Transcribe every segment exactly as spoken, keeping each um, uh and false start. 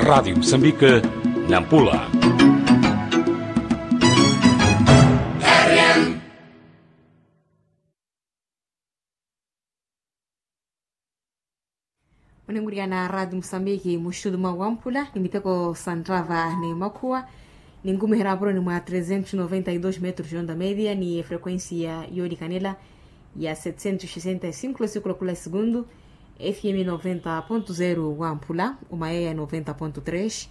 Radiyo musambika, nampula. Onenkuriyana radiyo musambiki muxutu mwa wampula ni miteko santrava ni makhuwa. Ninkumiherya apuro ni mwa trezentos noventa y dos metros de onda media ni efrequencia yoolikanela ya setecentos sesenta y cinco losikulo kula segundu. F m noventa ponto zero wampula, omayeya noventa ponto tres,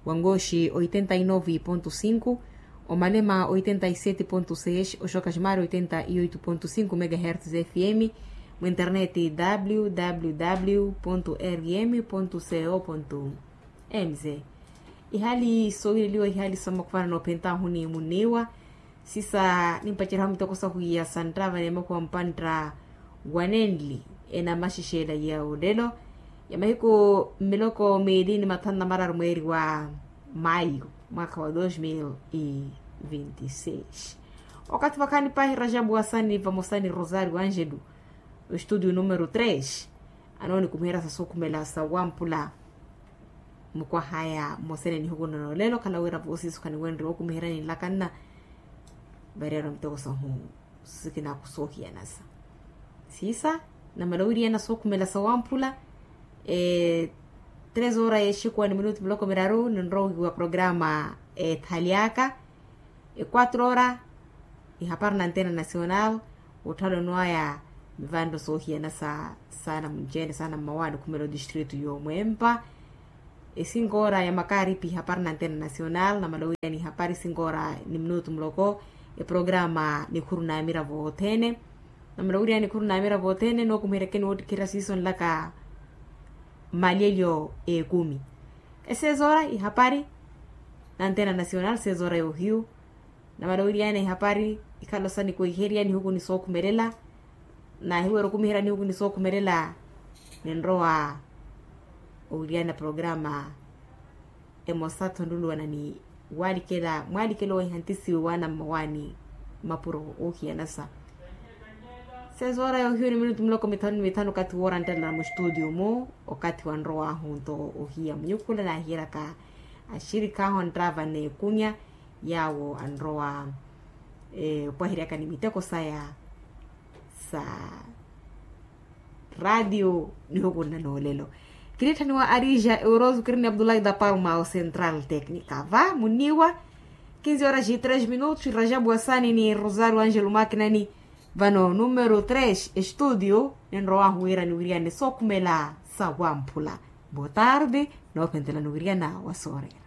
wangoxi oitenta y nove ponto cinco, omalema oitenta y sete ponto seis, oxoka ximari oitenta y oito ponto cinco megahertz f m. Mu internet w w w ponto r m ponto c o ponto m z. Ihali soowireliwa ihali samakhuwana noophentahu ni muniwa. Sisa nimpaceryahu miteko sahu ya santrava ni makhuwa mpantta wanenli enamaxexela ya olelo ya mahiku mmiloko miili ni mathanu na mararu mweeri wa mayu, mwaakha wa dos mil e vinte e seis. Okathi vakhaani paahi rajabu wasani vamosa ni rosario angelo, ostudio numero tres anoonikumiherya sa sookhumela sa wampula. Mukwahaya mosene nihukunano lelo khala wira voosiso khaniwenrye wookumiheryani nlakanna. Variyari miteko sahu sikinaku soohiyanasa. Siisa namala wiriana sookhumela sa wamphula. Tres hora yexikuwa ni minutu miloko miraru ninrowa ohiwa programa ethali aka. Quatro hora ihapari na antena nacional. Otthalo nwaya mivanro soohiyanasa sana munci-ene sana mmawani okhumela otistritu yomwempa. Esinkoora ya makaripi ihapari na antena nacional namala owiriyani ihapari sinkoora ni minutu muloko. Eprograma nikhuru na amiravo othene. Namala owiriyani nikhuru na amiravo othene nookumiheryakeni woottikherya siiso nlaka mmalyelyo ekumi. Esezoora ihapari na antena nacional sezoora yohiyu. Namala owiriyana ihapari ikhalo sa nikweherya nihuku ni sookhumelela. Naahiwera okumiherya nihuku ni sookhumelela. Ninrowa owiriyana programa emosa tho nluluwana ni walikela mwalikela owehantisiwe waana mmawani mapuro oohiyanasa. Sezoora yohiyu ni minutu miloko mithanu ni mithanu okathi woora nttalala muxitudio mu. Okathi wanrowahu nto ohiya munyukhula naahiyeryaka axirikhahu anttava n'ekunya yaawo anrowa opwaheryaka ni miteko saya sa radiyo. Nihukunna noolelo kinitthaniwa arija euroso kirini abdullahi da palma o central tecnica va muniwa. Kinzi horas e tres minutos rajabu wasani ni rosario angelo makinani. Vano numero tres estudio ninrowahu wira niwiriyane sookhumela sa wamphula. Boa tarde. Noophentelani wiriana wa soorera.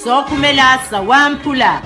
Sookhumela sa wamphula.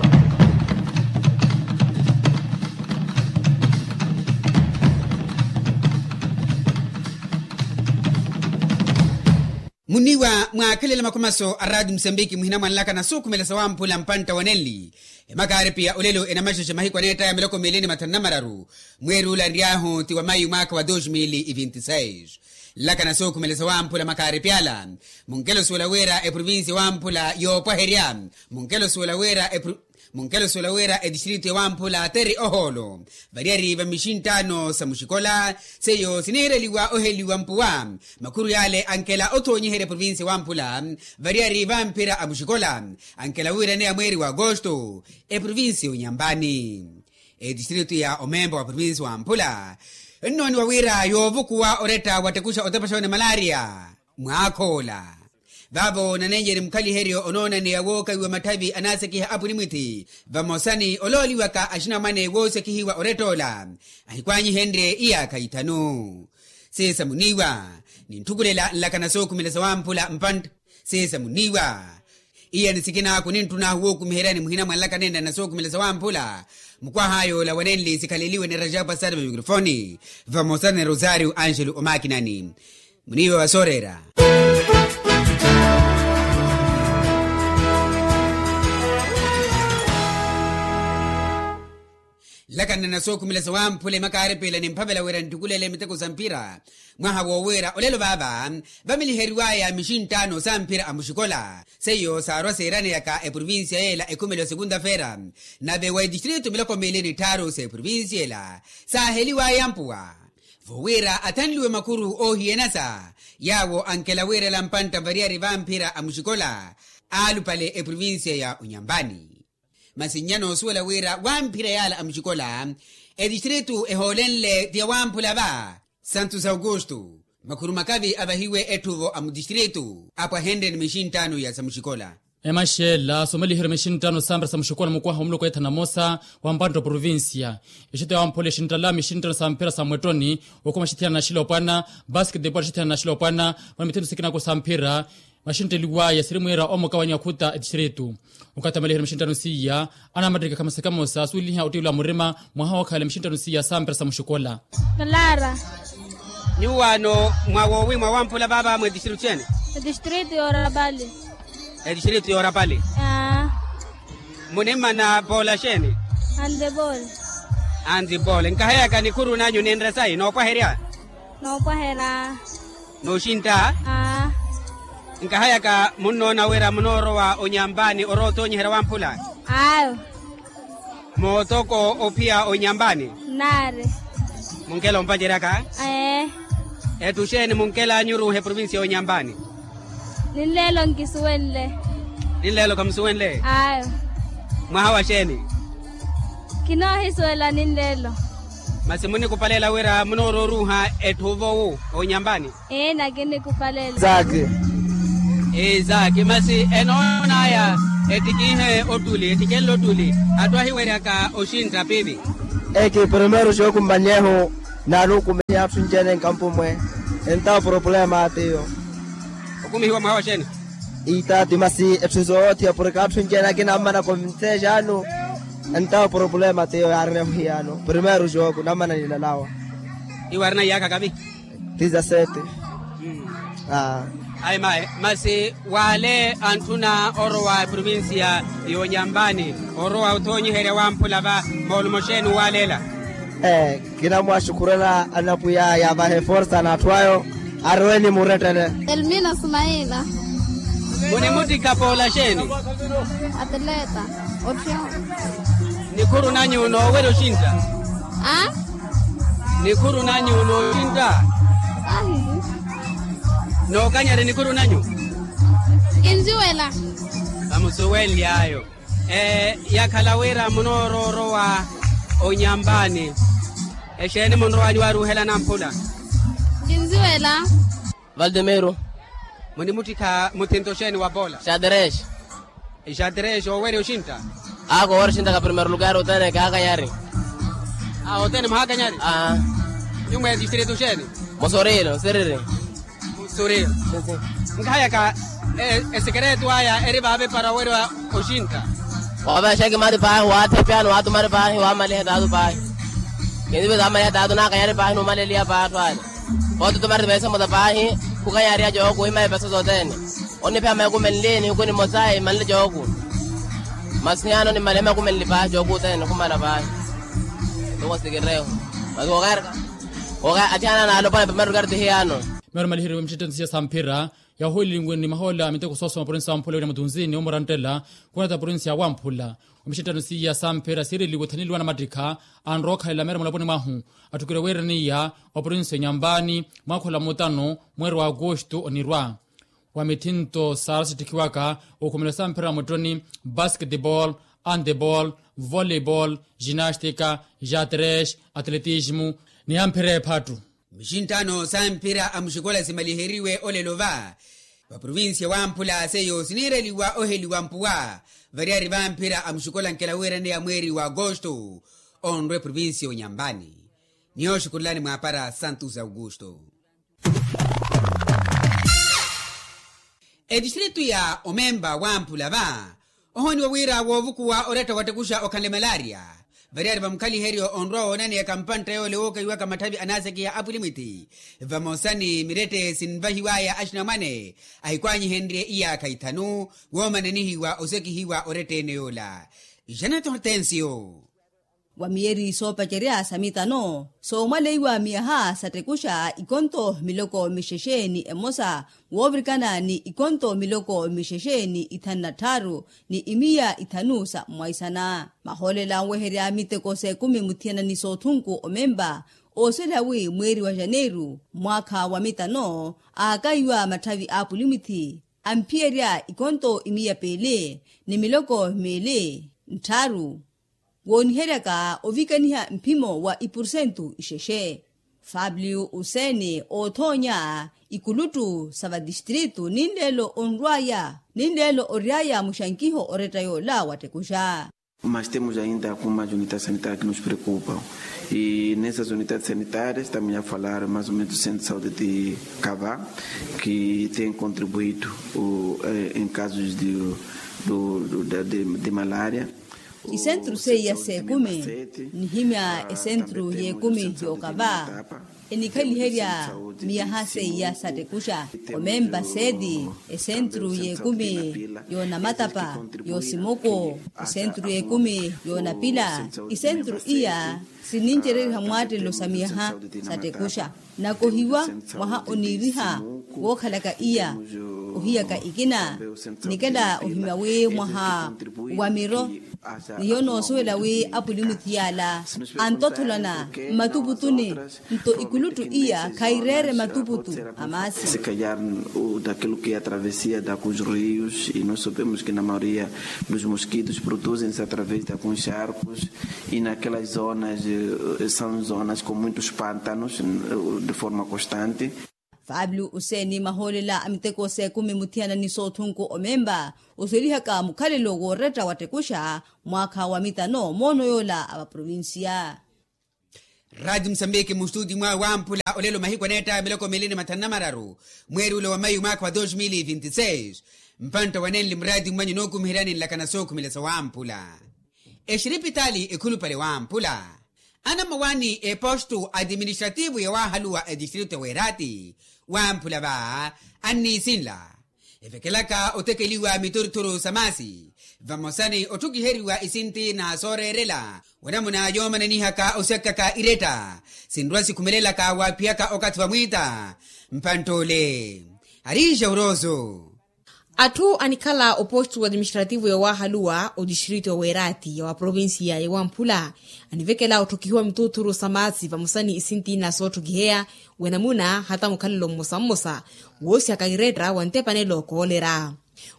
Muniwa mwaakhelela makhumaso a rati musambiki muhina mwanlaka na sookhumela sa wamphula mpantta wanenli. Emakaaripi ya olelo enamaxexe mahiku aneettaya miloko miili ni mathanu na mararu. Mweeri ula nryaahu ti wa mayu mwaakha wa dos mil e vinte e seis. Nlaka na sookhumela sa wamphula makaaripi ala. Munkelo suwela wira eprovincia wamphula yoopwaherya. Munkelo suwela wira epro munkelo suwela wira etistritu ya wamphula teri ohoolo. Variyari va mixinttaano sa muxikola seiyo sinihereliwa oheliwa mpuwa. Makhuru yaale ankela othoonyiherya eprovincia wamphula. Variyari vamphira a muxikola ankela wiiraneya mweeri wa agosto. Eprovincia onyambani etistritu ya omempa wa provincia wamphula. Nnooniwa wira yoovukuwa oretta watekuxa otepaxa one malaria. Mwaakhoola vaavo nanenjeri mukhaliheryo onoonaneya wookawiwa matthavi anaasekiha apuni mwithi. Vamosa ni olooliwaka axinamwane woosekihiwa orettoola ahikwaanyihenrye iyaakha ithanu. Siisa muniiwa nintthukhulela nlaka na sookhumela sa wamphula mpantta. Siisa muniiwa iya ni sikinaaku nintthunaahu wookumiheryani muhina mwa nlaka nenna na sookhumela sa wamphula. Mukwaha yoola wanenli sikhaleliwe ni rajabu asari va mikrofoni vamosa ni rosario angelo omakinani. Muniiwa wa sooreera. Nlakanana sookhumela sawamphula emakaaripela nimphavela wira nttukulele miteko sa mphira. Mwaha woowiira olelo vaava vamiliheriwaya mixinttaano sa mphira a muxikola seiyo saarwa seeraneyaka eprovincia yeela ekhumelo sekunta feera. Nave wa etistritu miloko miili ni tthaaru sa eprovincia ela saaheliwaya mpuwa vowira athanliwe makhuru oohiyanasa yaawo ankela wiirela mpantta variyari vamphira a muxikola aalupale eprovincia ya onyampani. Masi nnya noosuwela wira wamphira yaala a muxikola etistritu ehoolenle ti yawamphula va santos augusto. Makhuru makavi avahiwe etthuvo a mutistritu apwahenrye ni mixinttaano ya samuxikola. Emaxela soomaliheryo mixinttaano sa mphira sa muxikola mukwaha omuloko ethana mosa wa mpantta oprovincia. Exito yawamphula exinttala mixinttaano sa mphira sa mwettoni okuma xithiyana na xilopwana basketball xithiyana na xilopwana. Mwa mithinto sikinako sa mphira maxintteliwaya siri mwiira omuka wa nyakhuta etistritu. Okathi amaliheryo mixinttaano siiya anamattikha khamosa khamosa asuweliha ottiwela murima mwaha wookhala mixinttaano siiya sa mphira sa muxikola. Clara. Nyuwaano mwa woowi mwawamphula vaava mwa etistritu xeeni? Etistritu yoorapali. Etistritu yoorapali. Munimmana poola xeeni? Antipoli. Antipoli nkaheyaka nikhuru nanyu ninre sayi noopwaherya? Noopwahera. Nooxintta. Nkahayaka munnoona wira munoorowa onyampani orowa otoonyiherya wamphula? Ayo. Mootoko ophiya onyampani? Nnaari. Munkela ompaceryaka? Ee. Etthu xeeni munkel'anyu oruuha eprovincia y'onyampani? Ninleelo nkisuwenle. Ninleelo khamusuwenle? Ayo. Mwaha wa xeeni? Kinoohisuwela ninleelo. Masi munikupalela wira munoororuuha etthu ovowu onyampani? Ee nakinikupalela. Isaki. Isaki masi enoonaya ettikiihe ottuli ettikenle ottuli atthu ahiweryaka oxintta pipi? Eki primero xookumanyehu naaluukumihiya atthu ncene nkampumwe. Entawo problema tiyo. Okumihiwa mwaha wa xeeni? Iitaati masi etthu soothi apurika atthu ncene akina ammana konvinseexaanu. Entawo problema tiyo yaarina emuhiyano primero xooku nammana ninalawa. Iwe arina iyaakha kavi? Tizasete. Ayi mayi masi wale antthuna orowa eprovincia y'onyampani orowa othoonyiherya wamphula va moolumo xeeni walela? Ee. Kinamwaxukhurela anapwiya yaavahe forsa n'atthu ayo. Arowe ni murettele. Elmina sumaila. Munimuttikha poola xeeni? Atleta. Otthiyo. Nikhuru nanyu noowerya oxintta? A. Nikhuru nanyu nooxintta? Ahihi. Nookanyari nikhuru nanyu? Kinziwela. Vamusuwenly'ayo. Ee yakhala wira munooroorowa onyampani. Exeeni munrowanyu waaruuhela namphula? Kinziwela. Valdemiro. Munimuttikha muthinto xeeni wa poola? Xadrexe. Xadrexe owerya oxintta? Aako owerya oxintta ka primero lugar othene kaakanyari. Othene mwahaakanyari? Aa. Nyumwa etistritu xeeni? Musorilo siriri. Musorilo. Nkahayaka esekeretu aya eri vaavepara owerya oxintta? Waavexa ekimari paahi waathepyani waatumari paahi waamaliha taatu paahi. Kinzive zaamaliha taatu naakanyari paahi nuumaleliha paahi atthu ale. Otutumari veesa emosa paahi khukanyariha jooku imayi peso sothene. Oniphiya maikumenli nihiku nimosa imanle jooku. Masi hiyano nimaliha maikumenli paahi jooku othene nikhumala paahi. Tuko sikireho. Masi kookaerka. Kooka athiana naalopwana primeiro lugar tihiyano. Meero maliheriwe mixittensiya sa mphira yahulilinwe ni mahoola miteko soosoma provincia wamphula wira mutunzini omuranttela. Khunata provincia wamphula. Omixittanosiya sa mphira siireliwe othaneliwa namattikha anrowa okhalela meera mulaponi mwahu. Atthukeriwe wiiraniya oprovincia onyampani mwaakhola mutano mweeri wa agosto onirwa. Wa mithinto saarwa sittikhiwaka okhumela sa mphira mutoni, basketball, handball, volleyball, ginastika, jatres, atletismo, ni ya mphira ephattu. Mixinttano sa mphira a muxikola simaliheriwe olelo va vaprovincia wamphula seiyo siniireliwa oheliwa mpuwa. Variyari va mphira a muxikola nkela wiiraneya mweeri wa agosto onrwa eprovincia onyampani. Niyooxukulelani mwaapara santos augusto. Etistritu ya omempa wamphula va ohooniwa wira woovukuwa oretta wattekuxa okhanle malaria. Variyari vamukhaliheryo onrwa woonaneya kampantta yoole wookahiwaka matthavi anaasekiha apulimwitti vamosa ni mirette sinvahiwaya axinamwane ahikwaanyihenrye iyaakha ithanu woomananihiwa osekihiwa oretta ene yoola. Janet hortensio. wa miyeri soopacerya sa mitano soomwaleiwa miyaha sattekuxa ikonto miloko mixexe ni emosa woovirikana ni ikonto miloko mixexe ni ithanu na tthaaru ni imiya ithanu sa mmwaisana. Mahoolela anweherya miteko s'ekumi muthiyana ni soothunku omempa oosela wi mweeri wa janeiru mwaakha wa mitano aakaiwa matthavi a apulimuthi amphiyerya ikonto imiya piili ni miloko miili ntthaaru wooniheryaka ovikaniha mphimo wa ipursentu ixexe. Fabliu useeni oothoonya ikuluttu sa vatistritu ninleelo onrw'aya ninleelo ory'aya muxankiho oretta yoola wattekuxa. Mas temos ainda algumas unidades sanitárias que nos preocupam. E nessas unidades sanitárias estamos a falar mais ou menos do centro de saúde de cava, que tem contribuído em casos de malária. Isentru seiya s'ekumi nihimya esentru y'ekumi y'okava enikhaliherya miyaha seiya sattekuxa omempa seeti esentru y'ekumi y'onamatapa y'osimoko esentru y'ekumi y'onapila isentru iya sinincereriha mwaattelo sa miyaha sattekuxa nakohiwa mwaha oniiriha wookhalaka iya ohiyaka ikina nikela ohimya wi mwaha wa miro ni hiyo noosuwela wi apulimuthi yaala antottholana mmatuputuni nto ikuluttu iya khaireere matuputu a maasi. Se calhar daquilo que é a travessia da cus rios e nós sabemos que na maioria dos mosquitos produzem-se através de alguns charcos e naquelas zonas são zonas com muitos pântanos de forma constante. Fabio useeni mahoolela a miteko s'ekumi muthiyana ni soothunku omempa osuwelihaka mukhalelo wooretta wattekuxa mwaakha wa mitano moono yoola a vaprovincia. Raati musambiki mustuti mwa wamphula olelo mahiku aneetta miloko miili ni mathanu na mararu mweeri ula wa mayu mwaakha wa dos mil vinti seis. Mpantta wanenli muraati mwanyu nookumiheryani nlakana sookhumela sa wamphula exiripitaali ekhulupale wamphula anammawaani epostu atiministrativu yawaahaluwa etistritu ya weeraati wamphula va anniisinla evekelaka otekeliwa mituruturu sa maasi vamosa ni otthukiheriwa isinti na sooreerela wanamuna yoomananihaka osyakaka iretta sinrwa sikhumelelaka waaphiyaka okathi vamwiita mpantt'ole ariixa urooso. Atthu anikhala opostu atiministrativu yawaahaluwa otistritu ya weeraati ya waprovinsiya ya wamphula anivekela otthukihiwa mituuthuru sa maasi vamosa ni isinti na sootthukiheya wanamuna hata mukhalelo mmosa mmosa woosyaka iretta wa ntepanelo koolera.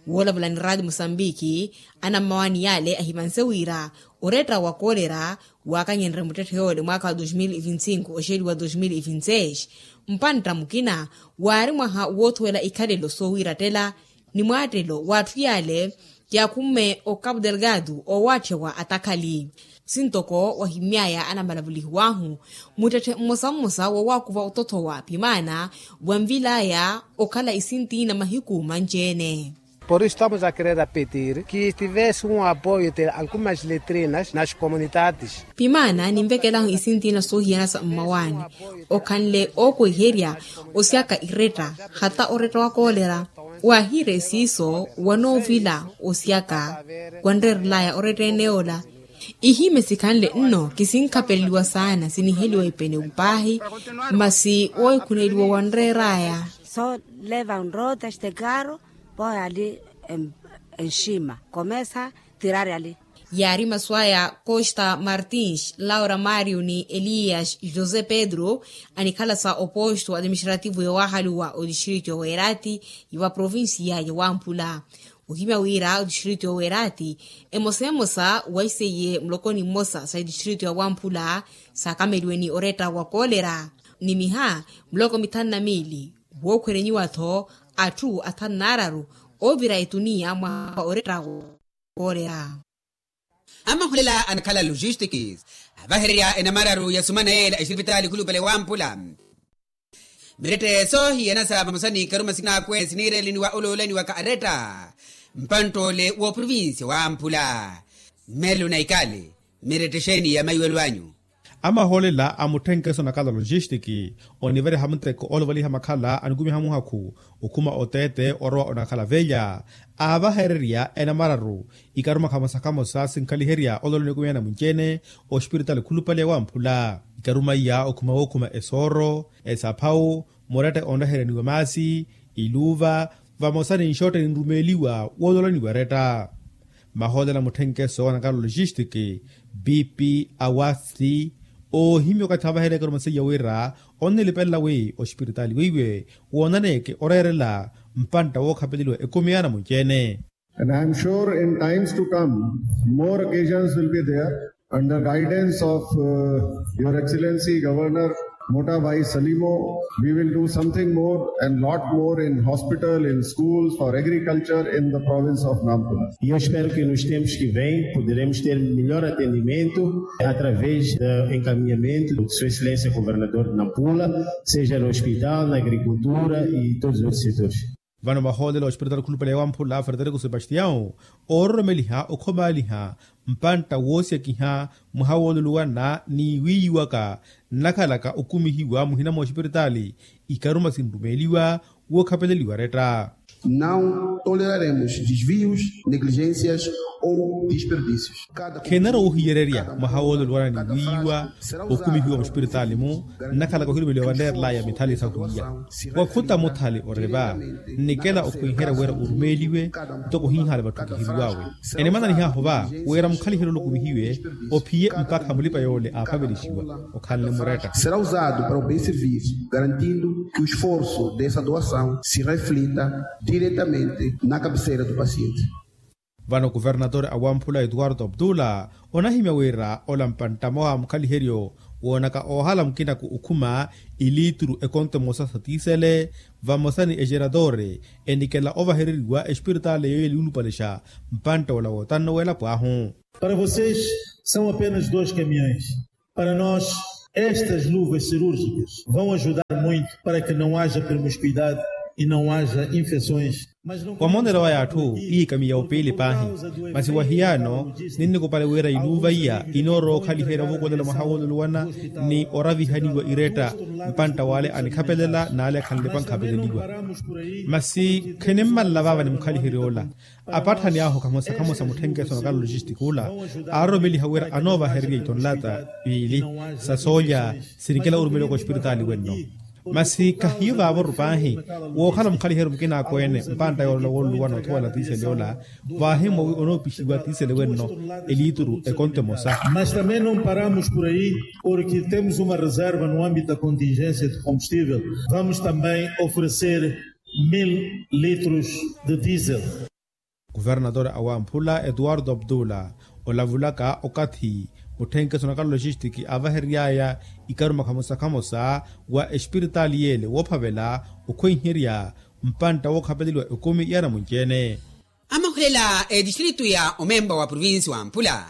Woolavula ni raati musambiki anammawaani yaale ahimanse wira oretta wa koolera waakanyenrye muttetthe yoole mwaakha wa dos mil vinti sinku oxeeliwa dos mil vinti seis mpantta mukina waari mwaha woothuwela ikhalelo soowiirattela ni mwaattelo w'atthu yaale yaakhumme o cabo delgado oowaatthiwa atakhali. Sintoko wahimmy'aya anamalavulihiw'ahu muttetthe mmosa mmosa wowaakuva ototthowa pimaana wanvil'aya okhala isinti na mahiku manci-ene. Por isu estamos a querer a petir ki estivese un apoio de algumas letrinas nas comunidades. Pimaana ninvekelahu isinti na soohiyana sa mmawaani okhanle ookweherya osyaka iretta hata oretta wa koolera. Waahiire siiso wanoovila osyaka wanreerelaya oretta ene yoola. Ihimye sikhanle nno kisinkhapeleliwa saana siniheliwa ipene upaahi masi woohikhuneliwa wanreeraya. Soo leva nroota este carro pooya ali enxima komesa tirari ali. Yaari masu aya costa martins laura mario ni elias josé pedro anikhala sa oposto atiministrativu yowaahaluwa otistritu yoweerati yowa provinsiya yowamphula. Ohimya wira otistritu yoweerati emosa emosa waiseiye mulokoni mmosa sa itistritu yowamphula saakameliwe ni oretta wa koolera ni miha muloko mithanu na miili. Wookhwerenyiwa-tho atthu athanu n'araru oovira etuniya mwa oretta wa koolera. Amahulela anakhala logistics avahererya enamararu ya sumana yeela exipitaali khulupale wamphula. Mirette soohiyanasa vamosa ni karuma sinaakwe siniireleniwa oloolaniwaka aretta mpantt'ole w'oprovincia wamphula. Mmerelo na ikale mirette xeeni ya maiwelo anyu? Amahoolela a mutthenkeso na kala logistic onivereha muteko olovaliha makhala anikumiha muhakhu okhuma oteete orowa onakhala velya aavahererya enamararu ikaruma khamosa khamosa sinkhaliherya olola onikumiha namunci-ene ospiritaali khulupale wamphula ikaruma iya okhuma wookhuma esooro esaphawu muretta onrehereniwa maasi iluuva vamosa ni nxotte ninrumeeliwa woololaniwa eretta. Mahoolela mutthenkeso wa nakala logistic bp awasti oohimya okathi avaherya ekaruma seiya wira onnilipelela wi ospiritaali weiwe woonaneeke oreerela mpantta wookhapeleliwa ekumi ya namunci-ene. And I am sure in times to come more occasions will be there under guidance of your excellency governor Mota Bhai Salimo, we will do something more and lot more in hospital, in schools, for agriculture in the province of Nampula. E eu espero que nos tempos que vêm poderemos ter melhor atendimento através do encaminhamento de sua excelência governador de Nampula, seja no hospital, na agricultura e todos os outros setores. Vano mahoolelo ospiritaali khulupale wamphula frederico sebastião oororomeliha okhomaaliha mpantta woosiyakiha mwaha wooluluwana ni wiiyiwaka nnakhalaka okumihiwa muhina mwa ospiritaali ikaruma sinrumeeliwa wookhapeleliwa retta. Não toleraremos desvios, negligências ou desperdícios. Khenarowa ohiyererya mwaha wooluluwana ni wiiyiwa okumihiwa muspiritaali-mu nnakhalaka ohirumeliwa vanreerelaya mithali sahwiiya wakhuta muthali ori va nnikela okhwiherya wira orumeeliwe ntoko ohihaale vatthu kihiriw'awe. Enimananihahu va wira mukhaliheryo ole okumihiwe ophiye mpakha mulipa yoole aaphavelixiwa okhanle muretta. Será usado para o bem serviço garantindo que o esforço dessa doação se reflita diretamente na cabeceira do paciente. Vano kuvernatore a wamphula etuwarto abdula onahimya wira ola mpantta mwawa mukhaliheryo woonaka oohala mukinaku okhuma iliituru ekonto emosa sa tiisele vamosa ni exeratore enikela ovahereriwa espiritaali yooyo eliulupalexa mpantta ola wootanno w'elapo ahu. Para vocês são apenas dois caminhões. Para nós estas luvas cirúrgicas vão ajudar muito para que não haja promiscuidade e não haja infecções. Wamonela waya atthu iikamiya opiili paahi masi wahiyaano ninnikupale wira iluuva iya inoorowa okhaliherya ovukulela mwaha wooluluwana ni oravihaniwa iretta mpantta w'ale anikhapelela n'ale akhanlepa nkhapeleliwa. Masi khinimmalela vaava ni mukhaliherya ola apatthani ahu khamosa khamosa mutthenkeso na kala logistic ula aaroromeliha wira anoovahererya itonlata piili sa soolya sinikela orumeliwaka ospiritaali wenno. Masi khahiyo vaavoru paahi wookhala mukhaliheryo mukinaakweene mpantta yoolola wooluluwana othowela tiisele ola vaahimmwa wi onoopixiwa tiisele wenno eliituru ekonto emosa. Mas também não paramos por aí, porque temos uma reserva no âmbito da contingência de combustível. Vamos também oferecer mil litros de diesel. Kuvernatore a wamphula etuwarto abdula olavulaka okathi mutthenkeso na kala logistic aavaherery'aya ikaruma khamosa khamosa wa espiritaali y'ele woophavela okhwenherya mpantta wookhapeleliwa ekumi ya namunci-ene. Amahulela etistritu ya omempa wa provinsi wamphula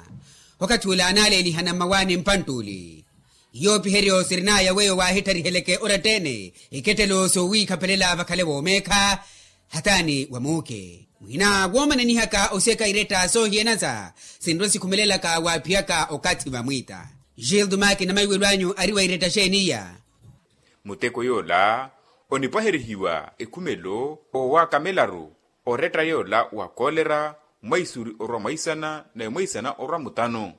okathi ula anaaleelihana mmawaani mpantta uli. Yoopiheryo sirin'aya weyo waahittariheleke oratta-ene ikettelo soowiikhapelela vakhale woomeekha hataani wa muuke mwina woomananihaka osiyaka iretta soohiyanansa sinrwa sikhumelelaka waaphiyaka okathi vamwiita. Gildo maki na maiwelo anyu ari wa iretta xeeni iya? Muteko yoola onipwaherihiwa ekhumelo owakamelaru oretta yoola wa kolera mwaisuri orwa mwaisana nawe mwaisana orwa mutano.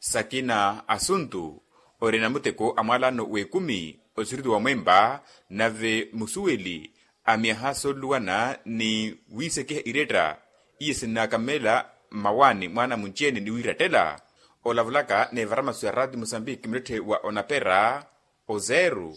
Sakina asuntu orina muteko a mwalano w'ekumi osiriti wa mwempa nave musuweli a myaha sooluluwana ni wiisekiha iretta iye sinnakamela mmawaani mwaana munci-ene ni wiirattela. Olavulaka n'evara masu ya raati musambiki muletthe wa onapera ozeeru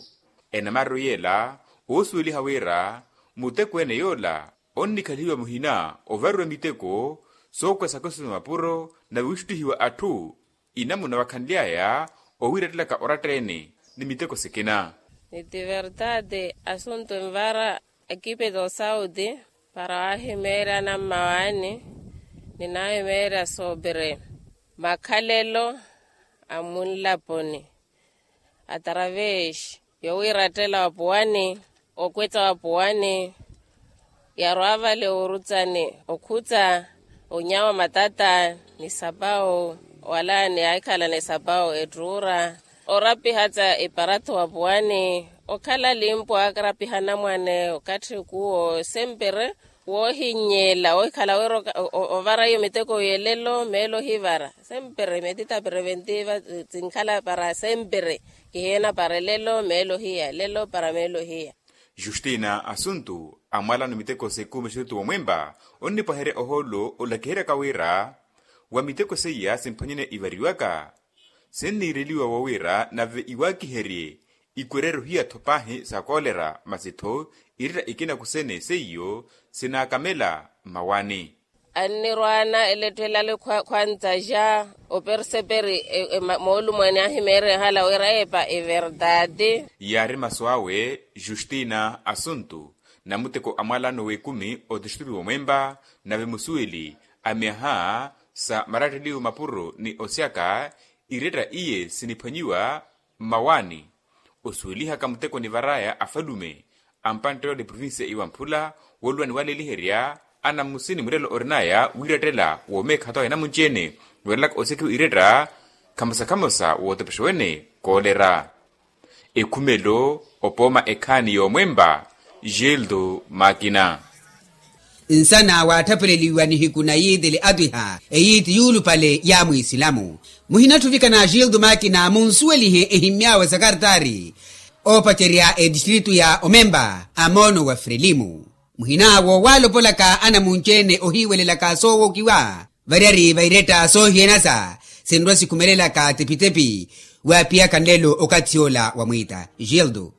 enamariru yeela oosuweliha wira muteko ene yoola onnikhalihiwa muhina ovariwa miteko sookwesaka osima mapuro nave wiixuttihiwa atthu inamuna wakhanly'aya owiirattelaka oratta-ene ni miteko sikina. Ni ti vertade asuntu envara ekipe do sauti para waahimeerya anammawaani ni naahimeerya sobre makhalelo a munlaponi atravesi yowiirattela wapuwani okwetta wapuwani yarwa vale orutsani okhutsa onyawa matata ni sapawu wala ni ahikhala ni sapawu ettuura Orapiha tsa eparathi wa puwani, okhala limpo aakarapiha anamwane okathi kuwo sempere, woohinnyela ohikhala wira ovara iyo miteko yelelo meelo ohivara. Sempere metita preventi va sinkhala para sempere, kihiena para elelo meelo ohiya elelo para meelo ohiya. Justina asuntu amwalano miteko sekumeshetu womwempa, onnipwaherya ohoolo olakiheryaka wira wa miteko seiya simphwanyene ivariwaka, sinniireliwa wowira nave iwakiherye ikwereryo hiya-tho paahi sa koolera masi-tho iretta ikina kusene seiyo sinaakamela mmawani. Annirwaana eletthu elale khwantsa ja operseperi moolumwani ahimeerehala wira epa everdade. Yaari masu awe justina asuntu namuteko amwalano w'ekumi otistritu womwempa, nave musuweli a myaha sa maratteliwo mapuro ni osyaka iretta iye siniphwanyiwa mmawani. Osuwelihaka muteko nivaraya afalume a mpanttelo ni provincia iwamphula wooluwa niwaleliherya anammusini murelo orinaya wiirattela woomeekha tawa enamunci-ene weerelaka osekiwa iretta khamosa-khamosa wootepexewene koolera. Ekhumelo opooma ekhaani yoomwempa gildo makina. Nsana waatthapeleliwa nihiku na yiitili atwiha eyiiti yuulupale ya mwiisilamu. Muhinatthuvika na gildo makina munsuwelihe ehimmy'awe sakartaari oopacerya etistritu ya omempa a moono wa frelimu. Muhin'awo waalopolaka anamunci-ene ohiiwelelaka soowokiwa variyari va iretta soohiyanasa sinrwa sikhumelelaka tepi-tepi waaphiyaka nlelo okathi ola wa mwiita gildo.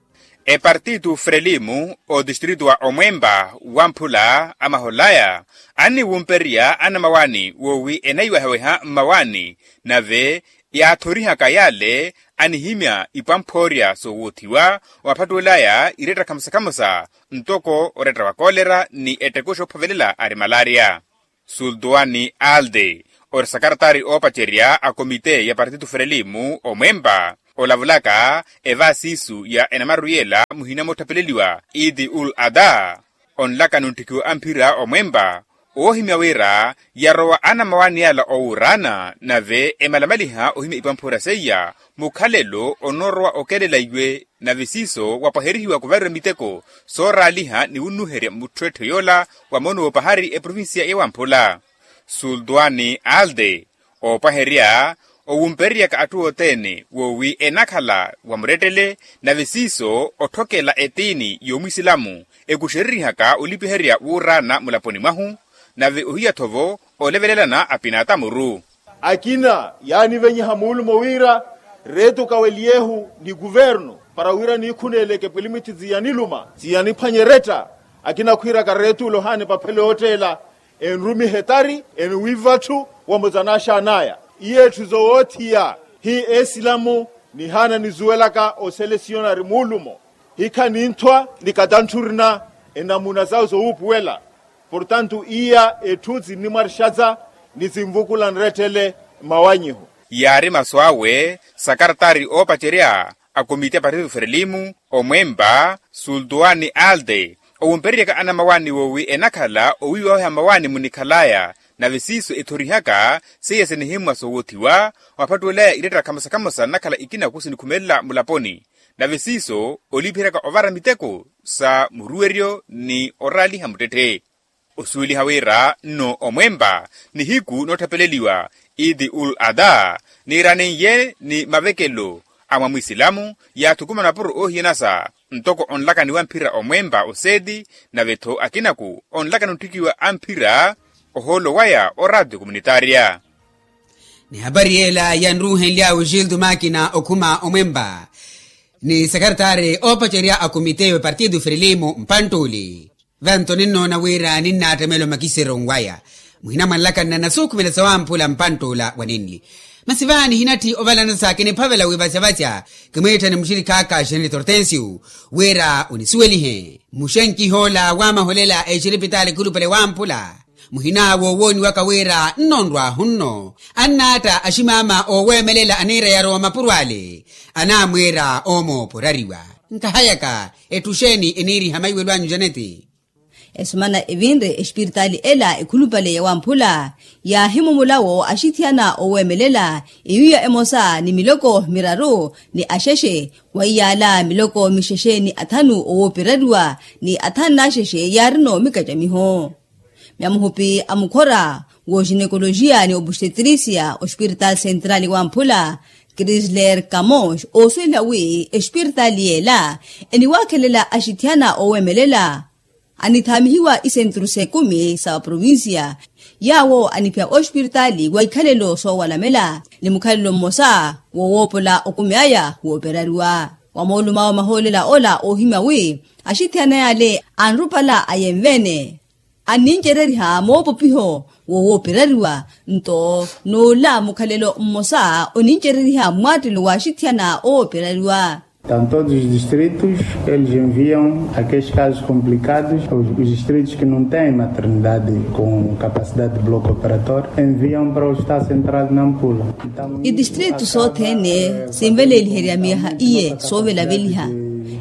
Epartitu frelimu otistritu wa omwempa wamphula amaholaya anniwumperya anamawani woowi enayiwaheweha mmawani, nave yaathorihaka yale anihimya ipwamphoorya soowothiwa waphattuwelaya iretta khamosa-khamosa ntoko oretta wa koolera ni ettekuxa ophovelela ari malaria. Sultuwani alde ori sakartaari oopacerya a komite ya partitu frelimu omwempa olavulaka evaasiisu ya enamaru yela muhina moottapeleliwa idi ul ada. Onlakani onttikiwa amphira omwempa oohimya wira yarowa anamawani yala owuuraana nave emalamaliha ohimya ipwamphoorya seiya mukhalelo onoorowa okelela iwe. Nave siiso wapwaherihiwa kuvariwa miteko sooraaliha ni wunnuherya mutthu etthu yoola wa moono woopahari eprovincia yawamphula. Sultuwani alde oopwaherya owumpereryaka atthu othene woowi enakhala wa murettele nave siiso otthokela etiini yoomwisilamu ekuxereryihaka olipiherya wuuraana mulaponi mwahu. Nave ohiya-tho-vo olevelelana apinatamuru. Akina yaanivenyiha muulumo wira reetu kaweliyehu ni kuvernu para wira niikhuneeleke pwilimwithi tsi yaniluma tsi yaniphwanye eretta. Akina khwiiraka reetu olohaani paphele ootteela enrumihe etari enwiiva atthu wamutsa n'axaan'aya. Iye etthu zowoothiya hi esilamu nihaana nizuwelaka oselesiyonari muulumo hikha ninthwa ni katantthurina enamuna sawe sowuupuwela. Portantu iya etthu sinnimwarixatsa ni sinvukula nrettele mmawanyiho. Yaari masu awe sakartaari oopacerya a komiti ya partitu frelimu omwempa sultuwani alde owumpereryaka anamawani woowi enakhala owiiwaweha mmawaani munikhalaya. Nave siiso ethorihaka seiya sinihimmwa soowothiwa waphattuwelaya iretta khamosa-khamosa nnakhala ikinaku sinikhumelela mulaponi. Nave siiso olipiheryaka ovara miteko sa muruweryo ni oraaliha muttetthe. Osuweliha wira nno omwempa nihiku nootthapeleliwa idi ul ada niiranin'ye ni mavekelo a mwa mwisilamu yaathukumana mapuro oohiyanasa ntoko onlakani wamphira omwempa oseeti nave-tho akinaku onlakani ontthikiwa amphira ohoolo waya oraatio komunitaria. Ni hapari yeela yanruuhenly'awe gildo makina okhuma omwempa ni sakartaari oopacerya a komite ya partitu frelimu mpanttuli. Vanto ninnoona wira ninnaattamela omakiseryo nwaya muhina mwanlakanna nasuukhumela sawamphula mpanttula wa ninli. Masi vaani hinatthi ovalanasa kiniphavela wivasyavasya kimwiitthani muxirikhaaka xeneli tortensio wira onisuwelihe muxenkih'ola waamaholela exiripitaali khulupale wamphula. Muhina woowooniwaka wira nnonrwahu nno annaatta aximaama ooweemelela aniira yarowa mapuro ale anaamwiira oomooporariwa. Nkahayaka etthu xeeni eniiriha maiwelo anyu janeti? Esumana evinre espiritaali ela ekhulupale ya wamphula, yaahimumula wo axithiyana oweemelela, ewiiya emosa ni miloko miraru ni axexe, wa iyaala miloko mixexe ni athanu owooperariwa ni athanu n'axexe yaarino mikacamiho. Myamuhupi a mukhora w'oxinekolojiya ni obustetirisiya ospiritaali sentrali wamphula, krisler kamos oosuweliha wi espiritaali yeela eniwaakhelela axithiyana oweemelela anithaamihiwa isenturu s'ekumi sa vaprovinsiya, yaawo aniphiya ospiritaali wa ikhalelo soowalamela ni mukhalelo mmosa wowoopola okumi aya wooperariwa. Wa moolumo awo mahoolela ola oohimya wi axithiyana yaale anrupala ayenve-ene annincereriha moopopiho wowooperariwa, nto n'ola mukhalelo mmosa onincereriha mmwaattelo w'axithiyana owooperariwa. Tanto dos distritos, eles enviam aqueles casos complicados os distritos que não têm maternidade com capacidade de bloco operatório enviam para o hospital central de nampula. Itistritu sothene sinveleeliherya miyaha iye soovelaveliha.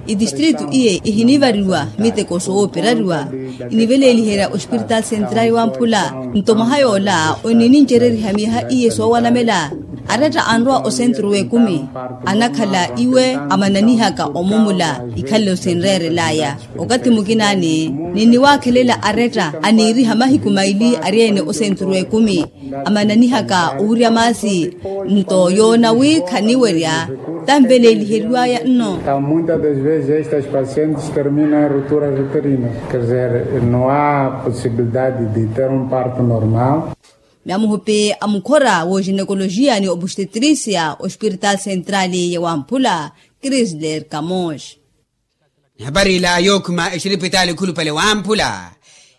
Itistritu iye ihinivariwa miteko sooperariwa. Iniveleeliherya ospiritaali sentrali wamphula. Nto mwaha yoola oninincereriha miyaha iye soowanamela. Aretta anrowa osenturu w'ekumi anakhala iwe amananihaka omumula ikhalelo sinreerel'aya. Okathi mukinaani ninniwaakhelela aretta aniiriha mahiku maili ari-ene osenturu w'ekumi amananihaka owirya maasi. Nto yoona wi khaniwerya tanveleeliheriwaya nno. Muitas das vezes estas pacientes terminam em ruptura uterina, quer dizer, não há possibilidade de ter um parto normal. Myamuhupi a mukhora w'oxinekolojiya ni obustetirisiya ospiritaali sentrali ya wamphula, krisler kamos. Nihapari ila yookhuma exiripitaali khulupale wamphula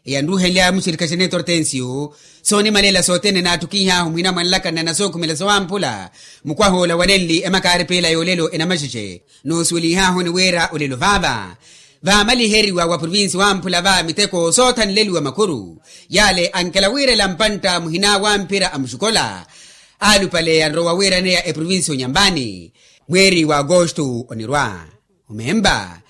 eyanruuhenlya muxirikha xeneto hortensio. Soonimalela sothene naattukiih'ahu muhina mwa nlakana na sookhumela sawamphula. Mukwaha ola wanenli emakaaripela y'olelo enamaxexe noosuweliih'ahu ni wira olelo vaava vaamaliheriwa wa provinsi wamphula va miteko soothanleliwa makhuru. Yaale ankela wiirela mpantta muhina wa mphira a muxukola alupale anrowa wiiraneya eprovinsi onyambani mweeri wa agosto onirwa. Omemba